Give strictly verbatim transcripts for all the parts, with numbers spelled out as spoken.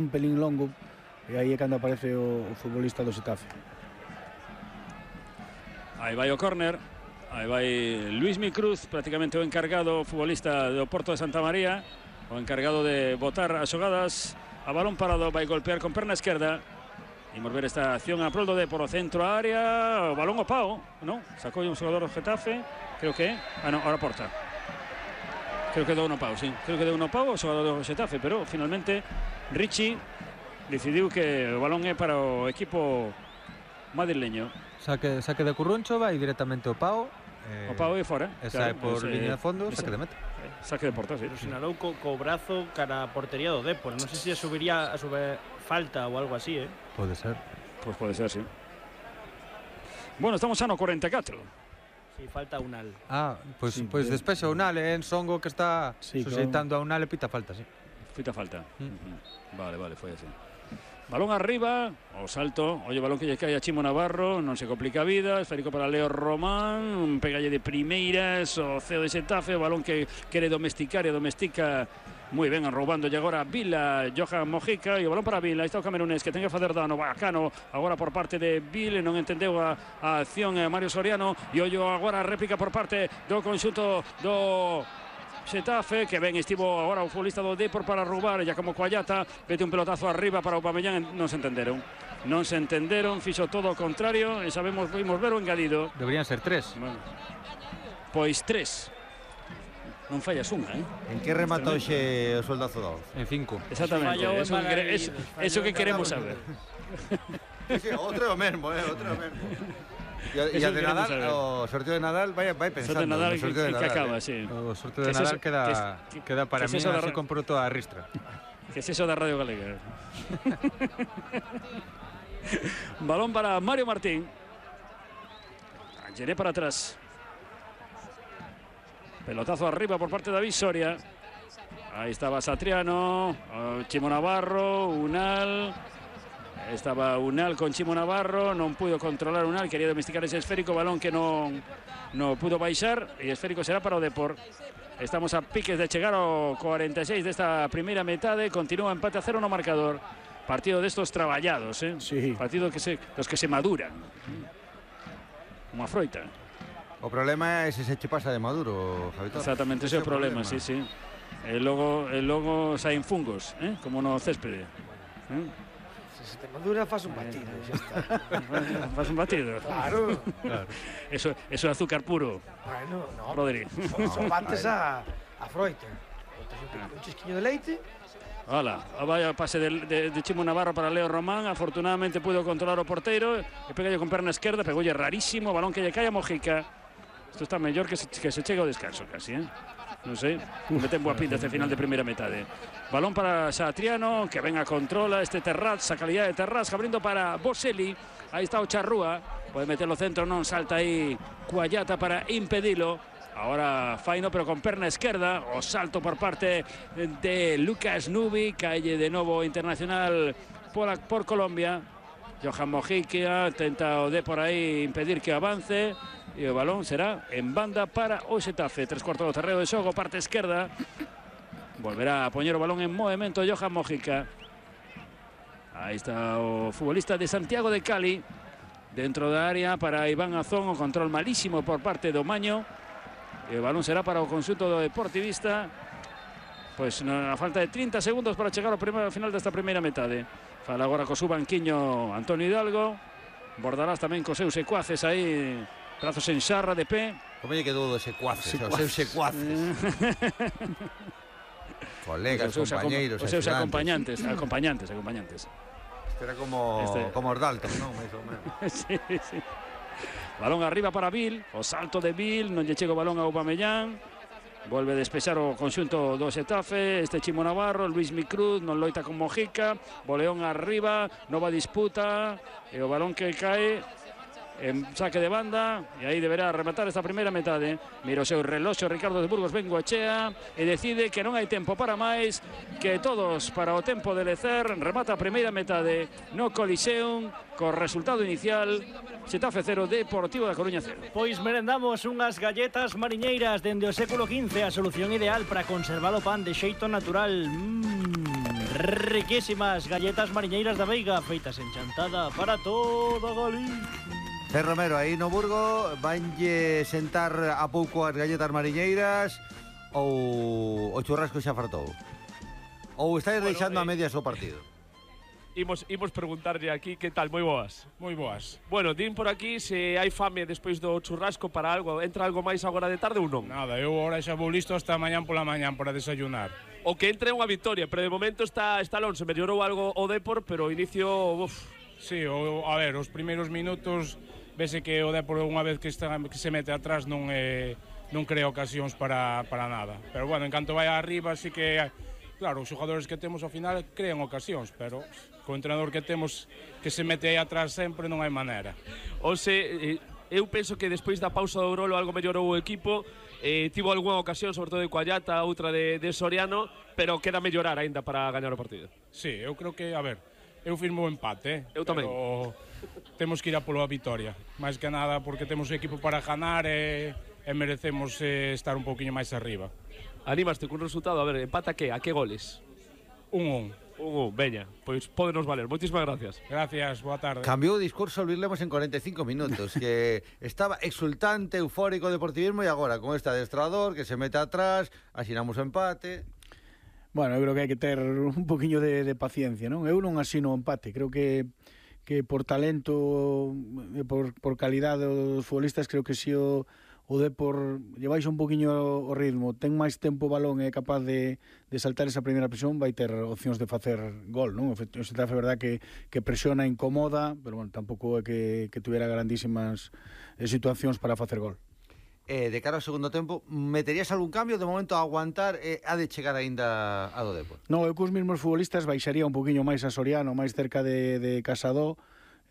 un pelín longo e aí é cando aparece o, o futbolista do Xetafe. Aí vai o córner, aí vai Luismi Cruz, prácticamente o encargado, futbolista do Porto de Santa María, o encargado de botar as xogadas. A balón parado, vai golpear con perna esquerda. Imos ver esta acción a prol do Depor, o centro a área, o balón o pao, non? Sacou un xogador do Getafe, creo que, ah non, ahora porta. Creo que deu no pau, sí. Creo que deu no pau o xogador do Getafe, pero finalmente Richie decidiu que o balón é para o equipo madrileño. Saque, saque de Curruncho, vai directamente ao pao. Eh, o pao é fora. E sae por ese, liña de fondo, ese, saque de meta. Saque de porta, sí. Pero sinalou co, co brazo cara a portería do Depor. Non sei se subiría a subir falta ou algo así, eh? Pode ser. Pois pues pode ser, sí. Bueno, estamos xa no cuarenta e catro. Sí, falta Unal. Ah, pois pues, sí, pues despexa Unal, eh, en Songo que está sí, sujeitando claro. a Unal e pita falta, sí. Pita falta. Mm. Uh-huh. Vale, vale, foi así. Balón arriba, o salto, oye, balón que lle cae a Chimo Navarro, non se complica a vida, esférico para Leo Román, un pegalle de primeiras, o ceo de Xetafe, o balón que quere domesticar e domestica moi ben, roubando agora Vila, Johan Mojica, e o balón para Vila, aí está o camerunés que ten que facer dano, bacano, agora por parte de Vila, non entendeu a, a acción a Mario Soriano, e ollo agora a réplica por parte do conxunto do Xetafe, que ben estivo agora o futbolista do Depor para roubar, ya como Coallata, mete un pelotazo arriba para o Aubameyang, non se entenderon. Non se entenderon, fixo todo o contrario, e sabemos, vimos ver o engadido. Deberían ser tres. Bueno, pois tres. Non fallas unha, eh? En que rematou xe o soldazo da once? En cinco. Exactamente, eso, eso, eso que queremos saber. Sí, outro é o mesmo, eh, outro é o mesmo. E a de Nadal, saber. O sorteo de Nadal vai, vai pensando. O sorteo de Nadal, sorteo de que, Nadal que acaba, eh. sí. O sorteo de Nadal queda, que, queda para mí así ra... compro toda a ristra. Que es eso da Radio Galega. Balón para Mario Martín. Llené para atrás. Pelotazo arriba por parte de David Soria. Ahí estaba Satriano, Chimo Navarro, Unal. Estaba Unal con Chimo Navarro, non pudo controlar Unal, quería domesticar ese esférico, balón que non, non pudo baixar, e esférico será para o Depor. Estamos a piques de chegar ao cuarenta e seis desta primeira metade, continúa empate a cero no marcador. Partido destos traballados, eh? Sí. Partido que se, dos que se maduran. Unha froita. O problema é se se che pasa de maduro, Javitor. Exactamente, ese é o problema, problema, sí, sí. E logo, e logo saen fungos, eh? Como no céspede. Eh? Se te madura, faz un batido, xa está. Faz un batido. Claro. Claro. Eso, eso é azúcar puro. Bueno, no. Rodri. Son, son bates a, a froita. Un chisquiño de leite. Hola, vaya pase de, de, de Chimo Navarro para Leo Román. Afortunadamente pudo controlar o porteiro. E pega con perna esquerda, pegolle rarísimo. Balón que lle cae a Mojica. Isto está mellor que se, que se chega ao descanso casi, eh? Non sei, mete en boa pinta este final de primeira metade. Balón para Satriano, que venga controla este Terraz, a calidad de Terraz, abrindo para Boselli. Aí está o Charrúa, pode meterlo centro, non salta aí Coallata para impedilo. Ahora Faino, pero con perna esquerda, o salto por parte de Lucas Nubi, calle de novo internacional por, por Colombia. Johan Mojica tenta o de por aí impedir que avance. E o balón será en banda para o Xetafe. Tres cuartos do terreo de xogo, parte esquerda. Volverá a poñer o balón en movimento Johan Mojica. Aí está o futbolista de Santiago de Cali. Dentro da área para Iván Azón. O control malísimo por parte do Maño. E o balón será para o conxunto do Deportivista. Pois na falta de trinta segundos para chegar ao primeiro final desta primeira metade. Fala agora co su banquiño Antonio Hidalgo. Bordalás tamén cos seus secuaces aí. Brazos en xarra de pé. Como lle quedou dos secuaces, os seus secuaces. Colegas, os compañeiros, os seus acompañantes, acompañantes, acompañantes. Este era como este... como os Dalton, non? Sí, sí. Balón arriba para Vil, o salto de Vil, non lle chega o balón a Aubameyang. Volve a despexar o conxunto do Xetafe, este Chimo Navarro, Luismi Cruz, non loita con Mojica, Boleón arriba, nova disputa, e o balón que cae en saque de banda, e aí deberá rematar esta primeira metade. Mira o seu reloxo Ricardo de Burgos Bengoechea e decide que non hai tempo para máis, que todos para o tempo de lecer. Remata a primeira metade no Coliseum co resultado inicial Xetafe cero, Deportivo da Coruña cero. Pois merendamos unhas galletas mariñeiras dende o século quince, a solución ideal para conservar o pan de xeito natural. Mmm, riquísimas galletas mariñeiras da Veiga, feitas en chantada para toda Galicia. Zé Romero, aí no Burgo vanlle sentar a pouco as galletas mariñeiras ou o churrasco xa fartou? Ou estáis bueno, deixando eh, a medias o partido? Imos, imos preguntarlle aquí que tal, moi boas. Moi boas. Bueno, din por aquí se hai fame despois do churrasco para algo, entra algo máis agora de tarde ou non? Nada, eu agora xa vou listo hasta mañán pola mañán para desayunar. O que entre unha victoria, pero de momento está, está Alonso, mellorou algo o Depor, pero o inicio... Uf. Sí, o, a ver, os primeiros minutos vese que o Depor unha vez que, está, que se mete atrás non, eh, non crea ocasións para, para nada. Pero bueno, en canto vai arriba, sí que, claro, os xogadores que temos ao final crean ocasións, pero co entrenador que temos que se mete aí atrás sempre non hai maneira. O se, eu penso que despois da pausa do Grolo algo mellorou o equipo, eh, tivo algunha ocasión, sobre todo de Coallata, outra de, de Soriano, pero queda mellorar aínda para gañar o partido. Sí, eu creo que, a ver, eu firmo o empate, eh? Eu tamén. Pero temos que ir a polo a vitoria, máis que nada porque temos o equipo para ganar e, e merecemos eh, estar un poquinho máis arriba. Animaste cun resultado, a ver, empata que, a que goles? Un un. Un un, veña, pois pódenos valer. Moitísimas gracias. Gracias, boa tarde. Cambiou o discurso Luis Lemos en cuarenta y cinco minutos, que estaba exultante, eufórico o deportivismo e agora con este adestrador que se mete atrás, asinamos o empate. Bueno, eu creo que hai que ter un poquinho de, de paciencia, non? Eu non asino o empate, creo que que por talento e por, por calidade dos futbolistas creo que si o, o Depor lleváis un poquinho o ritmo, ten máis tempo o balón e é capaz de, de saltar esa primeira presión, vai ter opcións de facer gol, non? O Xetafe é verdad que, que presiona, incomoda, pero bueno, tampouco é que, que tuviera grandísimas situacións para facer gol. Eh, de cara ao segundo tempo, meterías algún cambio? De momento a aguantar, eh, ha de chegar aínda a do Depor? No, eu cos mesmos futbolistas baixaría un poquinho máis a Soriano, máis cerca de, de Casado,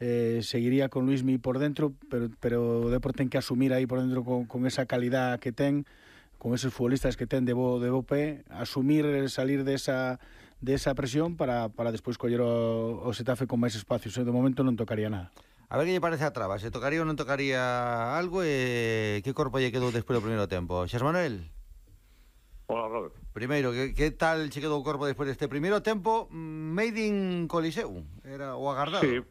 eh, seguiría con Luismi por dentro, pero, pero o Depor ten que asumir aí por dentro con, con esa calidad que ten, con esos futbolistas que ten de bo, de bo pé, asumir, salir de esa, de esa presión para, para despois coller o, o Xetafe con máis espacios. De momento non tocaría nada. A ver que lle parece a traba, se tocaría ou non tocaría algo e que corpo lle quedou despois do primeiro tempo. Xas Manuel? Hola, Robert. Primeiro, que, que tal che quedou o corpo despois deste primeiro tempo? Made in Coliseu, era o agardado. Sí,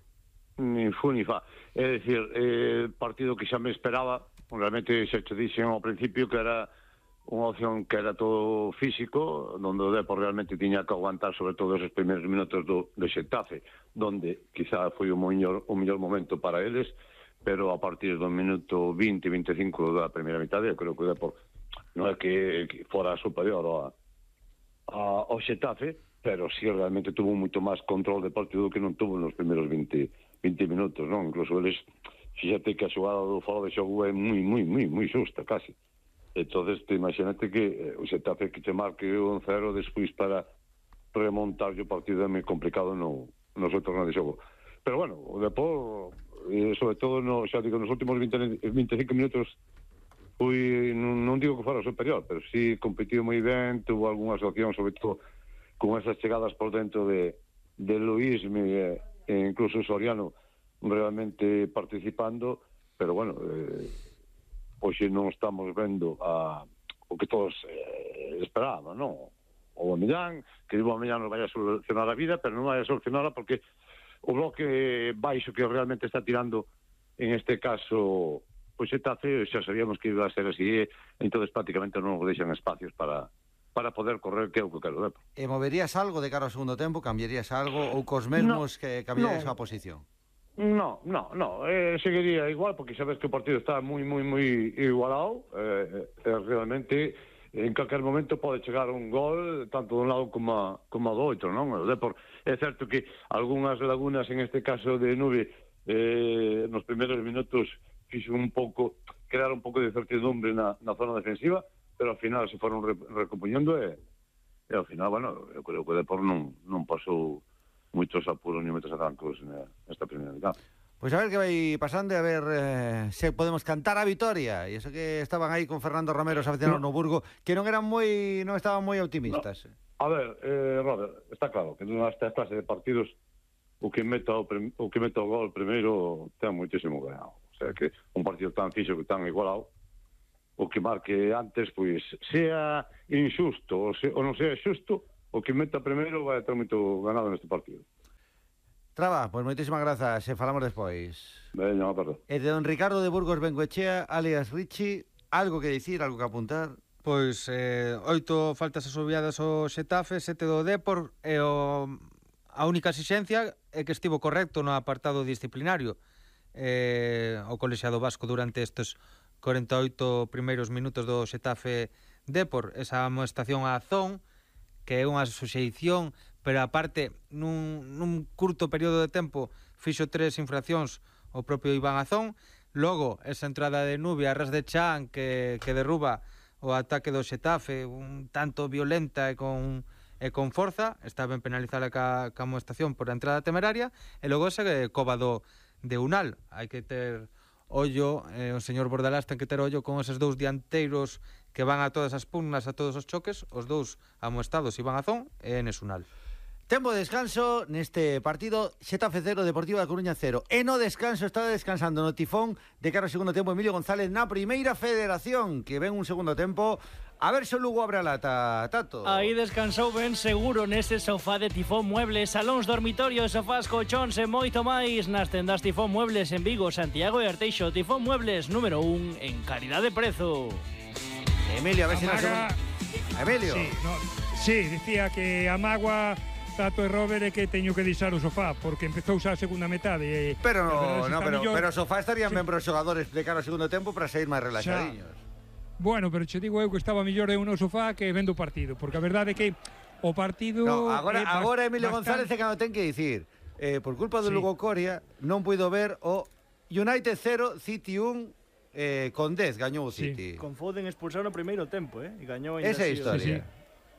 ni fu ni fa. É dicir, eh, partido que xa me esperaba, realmente xa te dixen ao principio que era unha opción que era todo físico, onde o Depor realmente tiña que aguantar sobre todo esos primeiros minutos do, do Xetafe, donde quizá foi o mellor, o mellor momento para eles, pero a partir do minuto vinte, vinte e cinco da primeira mitade, eu creo que o Depor non é que, que fora superior a, a, ao Xetafe, pero sí realmente tuvo moito máis control de partido que non tuvo nos primeiros vinte, vinte minutos, non? Incluso eles, fíxate que a xogada do foro de xogo é moi, moi, moi, moi xusta, casi. Entonces, te imagínate que o Xetafe que te marque un cero despois para remontar o partido é moi complicado no, no seu torneo de xogo. Pero bueno, o Depor, eh, sobre todo, no, xa digo, nos últimos vinte, vinte e cinco minutos fui, non, non digo que fora superior, pero sí competiu moi ben, tuvo algunhas opcións, sobre todo con esas chegadas por dentro de, de Luis e, e incluso Soriano realmente participando, pero bueno... Eh, hoxe non estamos vendo a, o que todos eh, esperaban, non? O Millán, que o Millán nos vai a solucionar a vida, pero non vai a solucionarla porque o bloque baixo que realmente está tirando, en este caso, o Xetafe, xa sabíamos que iba a ser así, entonces prácticamente non nos deixan espacios para para poder correr, que é o que quero. E moverías algo de cara ao segundo tempo? Cambiarías algo? Ou cos mesmos no, que cambiarías no. a posición? No, no, no, eh, seguiría igual porque sabes que o partido está moi, moi, moi igualado, eh, eh, realmente en calquer momento pode chegar un gol tanto de un lado como, como do outro, non? O Depor, é certo que algunhas lagunas, en este caso de Nube, eh, nos primeiros minutos fixo un pouco, crear un pouco de incertidumbre na, na zona defensiva, pero ao final se foron re, recompoñendo e, e ao final, bueno, eu creo que o Depor non, non pasou moitos apuros ni moitos arrancos nesta primeira mitad. Pois a ver que vai pasando e a ver eh, se podemos cantar a vitoria. E iso que estaban aí con Fernando Romero, os aficionados no, no Burgo, que non eran moi non estaban moi optimistas. No. A ver, eh, Robert, está claro que nesta clase de partidos o que meta o, prim, o que meta o gol primeiro ten moitísimo ganado. O sea que un partido tan fixo que tan igualado, o que marque antes, pois, sea injusto ou, se, ou non sea xusto, o que meta primeiro vai ter moito ganado neste partido. Traba, pois moitísimas grazas, e falamos despois. Veña, unha tarde. E de don Ricardo de Burgos Bengoechea, alias Richie, algo que dicir, algo que apuntar? Pois eh, oito faltas asobiadas ao Xetafe, sete do Depor, e o, a única exixencia é que estivo correcto no apartado disciplinario eh, o colexiado vasco durante estes corenta e oito primeiros minutos do Xetafe Depor, esa amoestación á Azón, que é unha suxeición, pero aparte nun, nun curto período de tempo fixo tres infraccións o propio Iván Azón. Logo, esa entrada de Nubia a ras de Chan que, que derruba o ataque do Xetafe un tanto violenta e con, e con forza, está ben penalizada ca, ca amoestación por a entrada temeraria, e logo ese coba do de Unal. Hai que ter ollo, eh, o señor Bordalás ten que ter ollo con eses dous dianteiros que van a todas as pugnas, a todos os choques, os dous amoestados, Iván Azón e Enes Unal. Tempo de descanso neste partido, Xetafe cero, Deportivo da Coruña cero. E no descanso está descansando no tifón de cara ao segundo tempo Emilio González na primeira federación, que ven un segundo tempo. A ver se o Lugo abre a lata, Tato. Aí descansou ben seguro nese sofá de Tifón Muebles, salóns, dormitorios, sofás, colchóns e moito máis nas tendas Tifón Muebles en Vigo, Santiago e Arteixo. Tifón Muebles número un en calidad de prezo. Emilio, a ver se nos... Emilio. Sí, no, sí, dicía que a mágoa Tato e Robert é que teño que deixar o sofá porque empezou xa a segunda metade. Pero no, no, pero, mellor... pero o sofá estarían sí. ben para os xogadores de cara ao segundo tempo para sair máis relaxadiños. Xa. Bueno, pero che digo eu que estaba mellor eu no sofá que vendo o partido, porque a verdade é que o partido... No, agora, é agora Emilio bastante... González é cando ten que dicir, eh, por culpa do sí. Lugo Coria, non puido ver o United cero, City un, eh, con dez gañou o City. Sí. Con Foden expulsado no primeiro tempo, eh? E gañou esa é a historia. Sí, sí.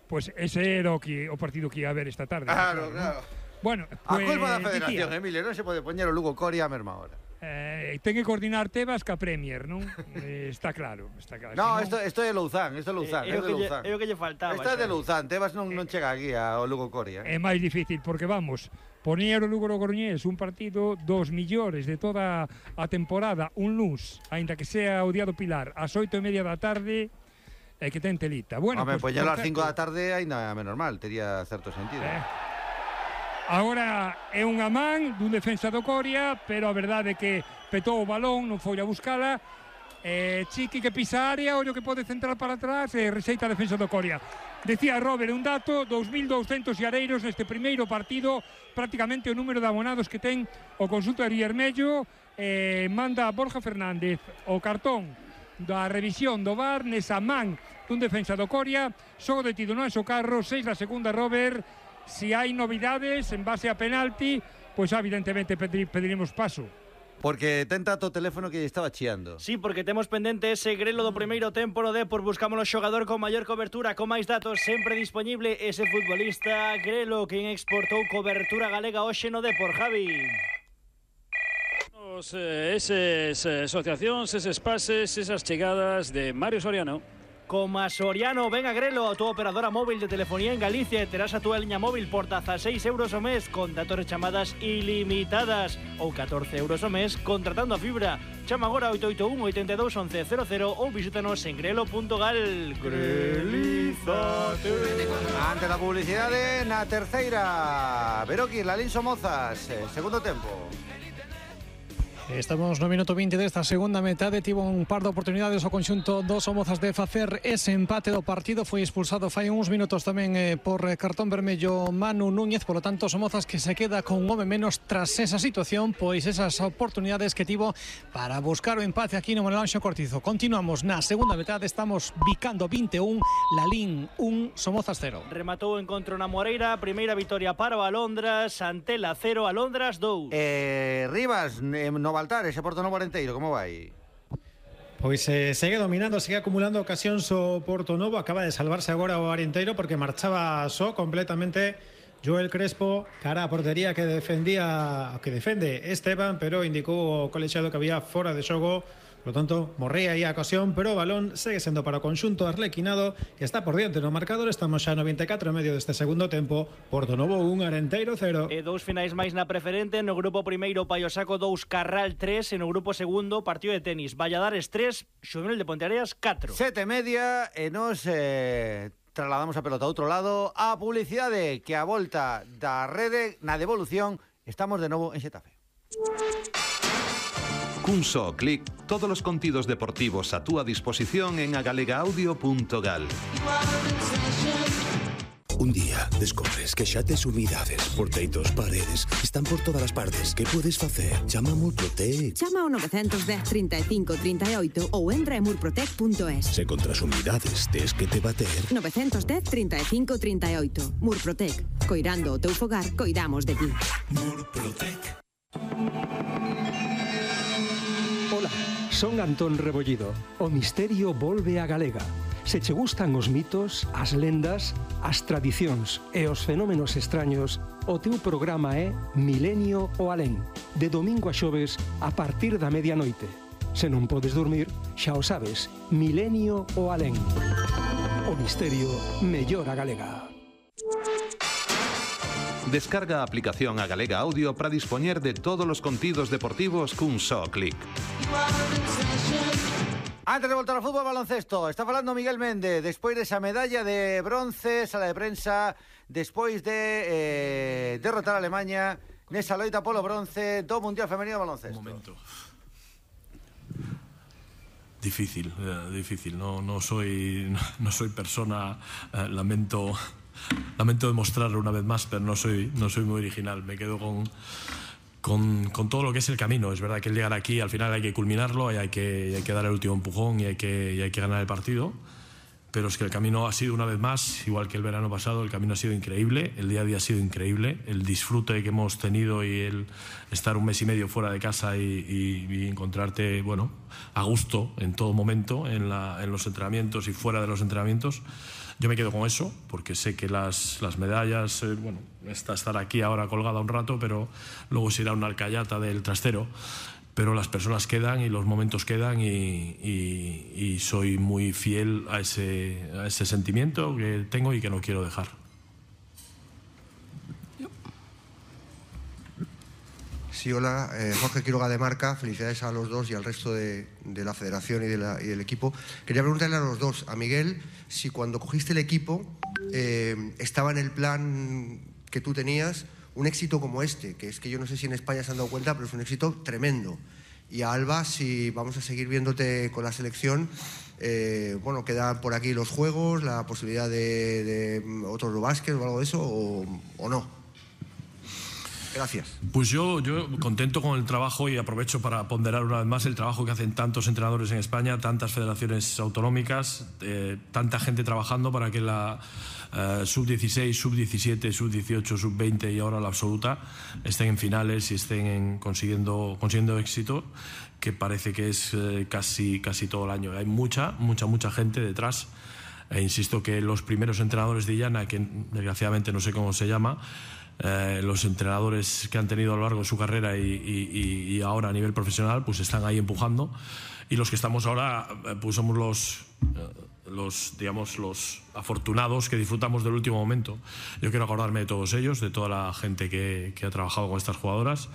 Pois pues ese era o, que, o partido que ia a ver esta tarde. Claro, claro. ¿no? Bueno, a pues, culpa da federación, dicía, Emilio, non se pode poñer o Lugo Coria a mesma hora. Eh, ten que coordinar Tebas ca Premier, non? eh, está claro, está claro. No, isto, isto é Louzán, isto é Louzán, eh, é de Louzán. É o que lle faltaba. Isto é de Louzán, Tebas non, eh, non chega aquí ao Lugo Coria. É máis difícil, porque vamos, poñer o Lugo Coruñés un partido dos millores de toda a temporada, un luz, aínda que sea o día do Pilar, ás oito e media da tarde, é que ten telita. Bueno, Home, pues, poñelo ás cinco da tarde ainda menos mal, tería certo sentido. Eh, agora é unha man dun defensa do Coria, pero a verdade é que petou o balón, non foi a buscala. Eh, Chiqui que pisa a área, ollo que pode centrar para atrás e rexeita a defensa do Coria. Decía Robert un dato, dous mil douscentos areiros neste primeiro partido, prácticamente o número de abonados que ten o conxunto de Riermello. Eh, manda Borja Fernández o cartón da revisión do V A R nesa man dun defensa do Coria, xogo detido no Anxo Carro, seis da segunda Robert. Si hai novidades en base a penalti, pois evidentemente pediremos paso. Porque ten Tato o teléfono que lle estaba chiando. Sí, porque temos pendente ese grelo do primeiro tempo no Depor. Buscamos o xogador con maior cobertura, con máis datos, sempre disponible ese futbolista Grelo, quen exportou cobertura galega hoxe no Depor, Javi. Esas asociacións, eses pases, esas chegadas de Mario Soriano. Como a Soriano, ven a Grelo, a túa operadora móvil de telefonía en Galicia, e terás a túa liña móvil por dieciséis euros o mes con datos e chamadas ilimitadas, ou catorce euros o mes contratando a fibra. Chama agora oito oito un, oito dos, once cero cero ou visítanos en grelo punto gal. Grelízate. Ante la publicidade, na terceira Beroki, Lalín Somozas, eh, segundo tempo. Estamos no minuto vinte desta segunda metade. Tivo un par de oportunidades o conxunto dos Somozas de facer ese empate do partido. Foi expulsado fai uns minutos tamén eh, por cartón vermello Manu Núñez. Por lo tanto, Somozas que se queda con un home menos tras esa situación, pois esas oportunidades que tivo para buscar o empate aquí no Manuel Anxo Cortizo. Continuamos na segunda metade. Estamos bicando vinte e un, Lalín un, Somozas cero. Rematou o encontro na Moreira. Primeira vitoria para o Alondras, Antela cero, Alondras dous. Eh, Rivas, eh, no Baltar, ese Porto Novo Arenteiro, como vai? Pois eh, segue dominando, segue acumulando ocasións o Porto Novo. Acaba de salvarse agora o Arenteiro porque marchaba só completamente Joel Crespo cara a portería que defendía, que defende Esteban, pero indicou o colexiado que había fora de xogo. Por lo tanto, morría aí a ocasión, pero o balón segue sendo para o conxunto arlequinado, que está por diante no marcador. Estamos xa no vinte e catro e medio deste segundo tempo. Porto Novo un, Arenteiro cero. E dous finais máis na preferente. No grupo primeiro, Paiosaco dous, Carral tres. E no grupo segundo, partido de tenis, Valladares tres, Xuvenil de Ponteareas catro. Sete e media e nos eh, trasladamos a pelota a outro lado. A publicidade que a volta da rede na devolución. Estamos de novo en Xetafe. Cun só clic, todos os contidos deportivos a túa disposición en agalega-audio punto gal. Un día descobres que xa tes umidades, porteitos, paredes, están por todas as partes. Que podes facer? Chama a Murprotec. Chama ao nove un cero, trinta e cinco, trinta e oito ou entra en murprotec punto es. Se contra as umidades tes que te bater. nove un cero, trinta e cinco, trinta e oito. Murprotec. Coirando o teu fogar, coidamos de ti. Murprotec. Ola, son Antón Rebollido. O misterio volve a Galega. Se che gustan os mitos, as lendas, as tradicións e os fenómenos extraños, o teu programa é Milenio o Alén, de domingo a xoves a partir da medianoite. Se non podes dormir, xa o sabes, Milenio o Alén. O misterio mellor a Galega. Descarga a aplicación a Galega Audio para dispoñer de todos os contidos deportivos cun só clic. Antes de voltar ao fútbol baloncesto, está falando Miguel Méndez, despois desa medalla de bronce, sala de prensa, despois de eh, derrotar a Alemanha nesa loita polo bronce do Mundial Femenino de Baloncesto. Un momento. Difícil, eh, difícil. No, no soy, no soy persona, eh, lamento, lamento demostrarlo una vez más, pero no soy, no soy muy original. Me quedo con... Con, con todo lo que es el camino. Es verdad que el llegar aquí al final hay que culminarlo y hay que, y hay que dar el último empujón y hay, que, y hay que ganar el partido, pero es que el camino ha sido una vez más, igual que el verano pasado, el camino ha sido increíble, el día a día ha sido increíble, el disfrute que hemos tenido y el estar un mes y medio fuera de casa y, y, y encontrarte, bueno, a gusto en todo momento, en, la, en los entrenamientos y fuera de los entrenamientos. Yo me quedo con eso, porque sé que las, las medallas, eh, bueno, está estar aquí ahora colgada un rato, pero luego se irá una alcayata del trastero. Pero las personas quedan y los momentos quedan y, y, y soy muy fiel a ese, a ese sentimiento que tengo y que no quiero dejar. Sí, hola, eh, Jorge Quiroga de Marca, felicidades a los dos y al resto de, de la federación y, de la, y del equipo. Quería preguntarle a los dos, a Miguel, si cuando cogiste el equipo eh, estaba en el plan que tú tenías un éxito como este, que es que yo no sé si en España se han dado cuenta, pero es un éxito tremendo. Y a Alba, si vamos a seguir viéndote con la selección, eh, bueno, quedan por aquí los juegos, la posibilidad de, de otro Eurobásquet o algo de eso, o, o no. Gracias. Pues yo, yo contento con el trabajo y aprovecho para ponderar una vez más el trabajo que hacen tantos entrenadores en España, tantas federaciones autonómicas, eh, tanta gente trabajando para que la eh, sub dieciséis, sub diecisiete, sub dieciocho, sub veinte y ahora la absoluta estén en finales y estén en consiguiendo, consiguiendo éxito, que parece que es eh, casi, casi todo el año. Hay mucha, mucha, mucha gente detrás. E insisto que los primeros entrenadores de Illana, que desgraciadamente no sé cómo se llama, Eh, los entrenadores que han tenido a lo largo de su carrera y, y, y ahora a nivel profesional pues están ahí empujando, y los que estamos ahora pues somos los, los, digamos, los afortunados que disfrutamos del último momento. Yo quiero acordarme de todos ellos, de toda la gente que, que ha trabajado con estas jugadoras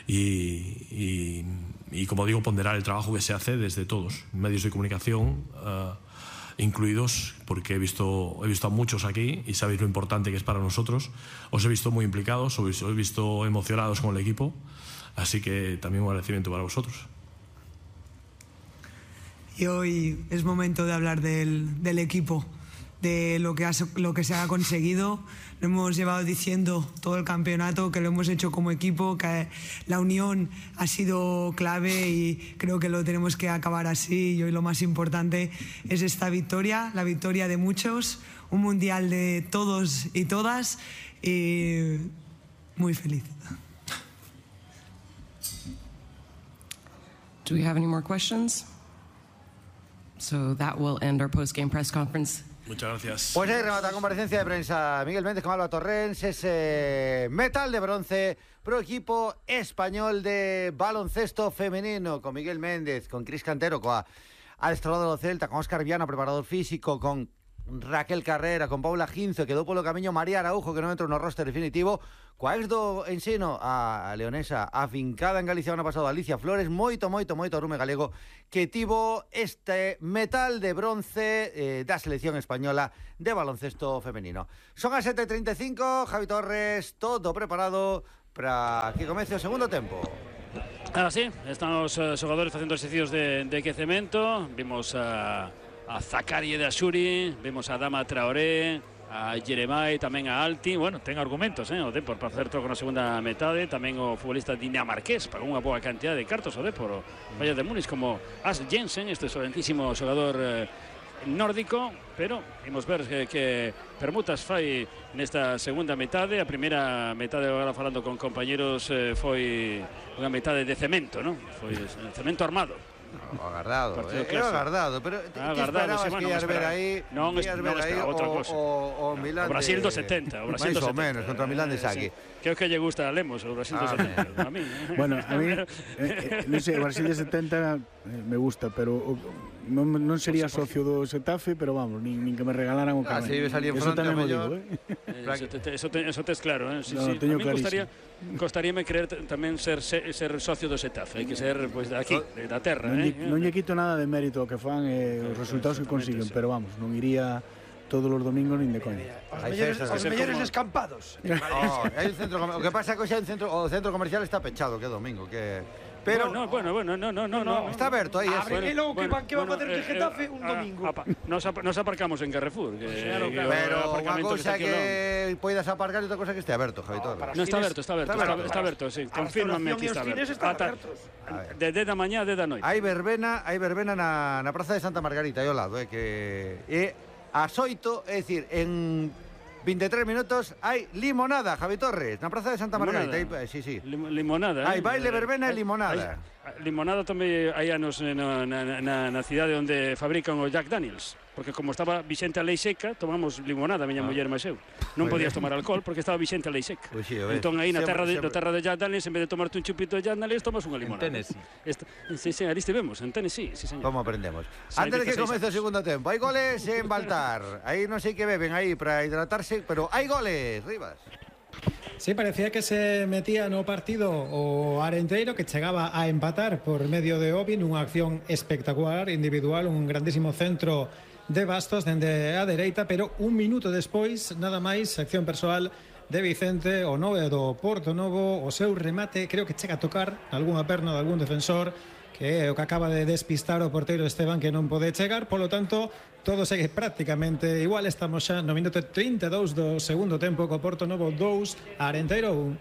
y, y, y como digo, ponderar el trabajo que se hace desde todos, medios de comunicación uh, incluidos, porque he visto, he visto a muchos aquí y sabéis lo importante que es para nosotros. Os he visto muy implicados, os he visto emocionados con el equipo, así que también un agradecimiento para vosotros. Y hoy es momento de hablar del, del equipo, de lo que, ha, lo que se ha conseguido. Lo hemos llevado diciendo todo el campeonato, que lo hemos hecho como equipo, que la unión ha sido clave y creo que lo tenemos que acabar así. Y hoy lo más importante es esta victoria, la victoria de muchos, un mundial de todos y todas, y muy feliz. Do we have any more questions? So that will end our post-game press conference. Muchas gracias. Pues ahí remata la comparecencia de prensa Miguel Méndez con Alba Torrens, ese metal de bronce pro equipo español de baloncesto femenino, con Miguel Méndez, con Cris Cantero, coa adestrador do Celta, con Óscar Viana, preparador físico, con Raquel Carrera, con Paula Ginzo, quedou polo camiño María Araujo, que non entrou no roster definitivo, coa ex do Ensino, a leonesa afincada en Galicia ano pasado, Alicia Flores, moito, moito, moito rume galego, que tivo este metal de bronce eh, da selección española de baloncesto femenino. Son as sete e trinta e cinco, Javi Torres, todo preparado para que comece o segundo tempo. Ahora sí, están os uh, xogadores facendo exercicios de, de quecemento. Vimos a, a Zakari de Asuri, vimos a Dama Traoré, a Jeremai, tamén a Alti. Bueno, ten argumentos, eh, o Depor para facer troco na segunda metade. Tamén o futbolista dinamarqués pagou unha boa cantidad de cartos o Depor, o Bayern de Múnich, como As Jensen, este excelentísimo xogador eh, nórdico, pero imos ver que, que permutas fai nesta segunda metade. A primeira metade, agora falando con compañeros, eh, foi unha metade de cemento, non? Foi cemento armado. O agardado, eh, era agardado, pero ah, que esperabas sí, bueno, que ias ver aí, non, ias ver aí o, o, o Milán o Brasil de... do setenta, o Brasil máis do ou menos, contra o Milán de Saki. Sí. Creo que lle gusta a Lemos o Brasil ah, do setenta, a mí. Bueno, a mí, eh, eh, non sei, o Brasil de setenta eh, me gusta, pero o, non, non sería socio do Xetafe, pero vamos, nin, nin que me regalaran o carné. Ah, si salí en fronte o mellor. Eh? Eh, eso, te, eso, te, eso tes claro, eh? Sí, no, sí. Teño a mí costaría, costaríame creer tamén ser, ser, ser socio do Xetafe, hai que ser pues, de aquí, de, da terra. Non, eh? non lle quito nada de mérito ao que fan e eh, os resultados que consiguen, sí. Pero vamos, non iría todos os domingos nin de coña. Os mellores, os mellores como... escampados. Oh, hai un centro, o que pasa é que xa un centro, o centro comercial está pechado, que é domingo, que pero bueno, bueno, bueno, no, no, no, no, está aberto aí, abre bueno, e logo que van que van bueno, facer de Getafe un domingo. Apa, nos, ap nos aparcamos en Carrefour, que, claro, que claro. Pero unha cousa que, que poidas aparcar e outra cousa que este aberto, Javi Torres. No, está aberto, está aberto, está aberto, está aberto, sí, confírmame que está aberto. De de da mañá, de da noite. Hai verbena, hai verbena na na Praza de Santa Margarita, aí ao lado, eh, que é ás oito, é dicir, en vinte e tres minutos hai limonada, Javi Torres, na Praza de Santa Margarita. Aí, sí, sí. Limonada, hai eh? baile, verbena e limonada. Hai, limonada tamén hai anos na, na, na, na cidade onde fabrican o Jack Daniels, porque como estaba vixente a lei seca, tomamos limonada, miña ah. muller máis eu. Non podías tomar alcohol porque estaba vixente a lei seca. Pues sí, entón aí na terra de, na terra de Jack Daniels, en vez de tomarte un chupito de Jack Daniels, tomas unha limonada. En Tennessee. Esta, sí, sí, aí estivemos, en Tennessee, sí, señor. Como aprendemos. Antes de que comece o segundo tempo, hai goles en Baltar. Aí non sei que beben aí para hidratarse, pero hai goles, Rivas. Sí, parecía que se metía no partido o Arenteiro, que chegaba a empatar por medio de Obi nunha acción espectacular, individual, un grandísimo centro de Bastos dende a dereita, pero un minuto despois, nada máis, acción persoal de Vicente, o nove do Porto Novo, o seu remate, creo que chega a tocar algunha perna de algún defensor, que é o que acaba de despistar o porteiro Esteban, que non pode chegar, polo tanto, todo segue prácticamente igual. Estamos xa no minuto trinta e dous do segundo tempo, co Porto Novo dous, Arenteiro un.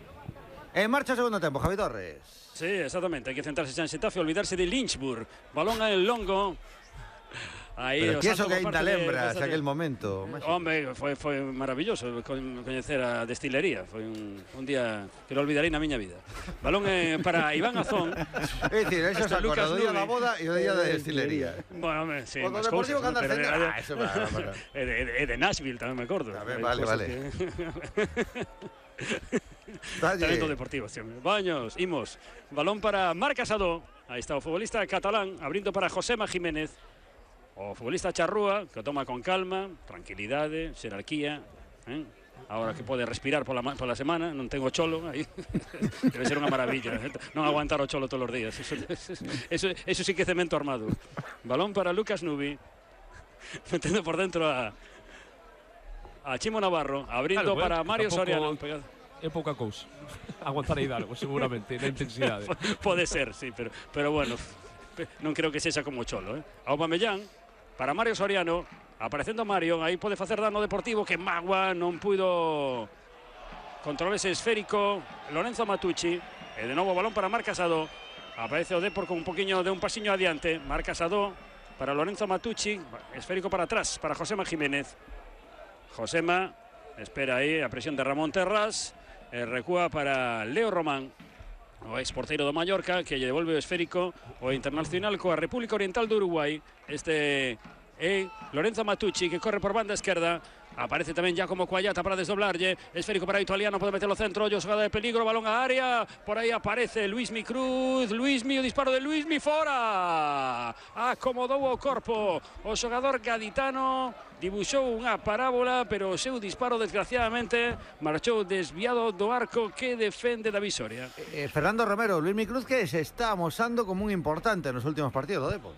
En marcha o segundo tempo, Javi Torres. Sí, exactamente, hai que centrarse xa en Xetafe, olvidarse de Lynchburg, balón a el longo. Aí, pero que eso que ainda lembras de, aquel momento. Hombre, foi, foi maravilloso coñecer a destilería. Foi un, un día que non olvidarei na miña vida. Balón eh, para Iván Azón. É dicir, eso se acorda do día da boda e o día da destilería. Bueno, hombre, sí, o do Deportivo que anda pero, ah, eso va, va, va. É de, de, de Nashville, tamén me acordo. Ver, vale, vale. Talento deportivo, sí. Baños, imos. Balón para Marc Casado. Aí está o futbolista catalán, abrindo para Josema Jiménez. O futbolista Charrúa, que o toma con calma, tranquilidade, xerarquía, eh? Agora que pode respirar pola, pola semana, non tengo cholo aí. Debe ser unha maravilla, eh? Non aguantar o cholo todos os días. Eso, eso, eso sí que é cemento armado. Balón para Lucas Nubi, metendo por dentro a a Chimo Navarro, abrindo claro, para eh, Mario Soriano. É pouca cousa. Aguantar a Hidalgo, seguramente, na intensidade. Pode ser, sí, pero, pero bueno, non creo que sexa como cholo, eh? Aubameyang para Mario Soriano, aparecendo Mario, aí pode facer dano Deportivo, que Magua non puido controlar ese esférico. Lorenzo Matucci, e de novo balón para Marc Casado, aparece o Depor con un poquinho de un pasiño adiante. Marc Casado para Lorenzo Matucci, esférico para atrás para Josema Jiménez. Josema espera aí a presión de Ramón Terras, e recúa para Leo Román, o ex porteiro do Mallorca, que lle devolve o esférico o internacional coa República Oriental do Uruguai. Este é Lorenzo Matucci, que corre por banda esquerda Aparece tamén Giacomo Cuagliata para desdoblarlle. Esférico para o italiano, pode meter o centro. Ollo, xogada de peligro, balón á área. Por aí aparece Luismi Cruz. Luismi, o disparo de Luismi, fora. Acomodou o corpo o xogador gaditano. Dibuxou unha parábola, pero o seu disparo, desgraciadamente, marchou desviado do arco que defende David Soria. Eh, Fernando Romero, Luismi Cruz, que se está amosando como un importante nos últimos partidos do Depor.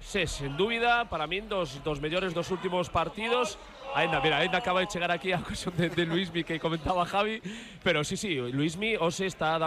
Sí, sin dúbida, para min dos, dos mellores dos últimos partidos. Ainda, mira, ainda acaba de chegar aquí a ocasión de, de Luismi que comentaba Javi, pero sí, sí, Luismi hoxe está dando